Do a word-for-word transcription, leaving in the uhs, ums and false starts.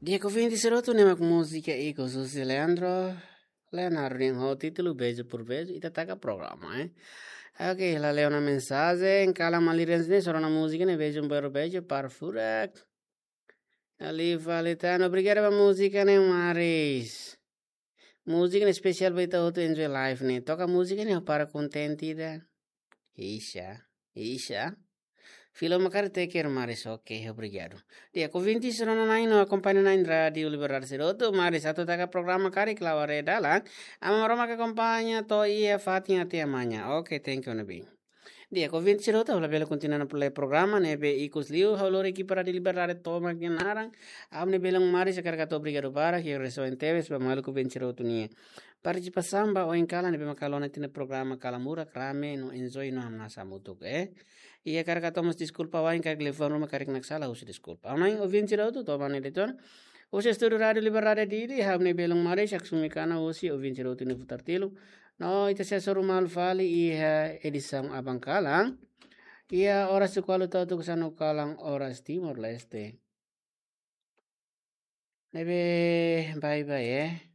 Di'ak ouvinte sira hotu, ne'e mak múzika ikus husi Leandro Leonardo nian ho títulu Beijo por Beijo, ita taka programa, eh. Oke, la leona mensajen, kala malirin sini, só rona múzika ne'e Beijo por Beijo, para furak. Ali fali tan, obrigadu ba múzika ne'e maris. Múzika ne'e espesiál ba ita hotu enjoy life ne'e. Toka múzika ne'e para kontente ida. Isha, isha. Filo makar teker maris, oke, obrigadu. Di'ak ouvinte sira hotu-na'in no akompaña na'in Rádiu Liberdade sira hotu, maris atu taka programa karik la'o haree dalan. Aman Maromak akompaña to'o iha fatin até amanhã. Oke, thank you, Nabi. Di'ak ouvinte sira hotu, ha'u labele kontinua ona lee programa ne'ebé ikus liu, ha'u lori ekipa Rádiu Liberdade tomak nia naran. Amu ne'e belun maris hakarak hato'o obrigadu barak, hato'o agradese tebes ba maluk ouvinte sira hotu nia partisipasaun ba oin kalan ne'ebé mak halo ona ita-nia programa kalan murak, rame no enjoy no hamnasa hamutuk, eh. I hakarak hato'o mós deskulpa wa'in karik liafuan ruma karik naksalan, husu deskulpa. Amu na'in ouvinte sira hotu, to'o ba ne'e de'it ona. Husi estúdiu Rádiu Liberdade Dili, ha'u ne'e belun maris, haksolok mai kana husi ouvinte sira hotu nia futar tilu. No ita sei hasoru malu fali iha edisaun aban kalan. Iha oras tuku ualu to'o tuku sanulu kalan oras Timor-Leste. Ne'ebé, bye bye, eh.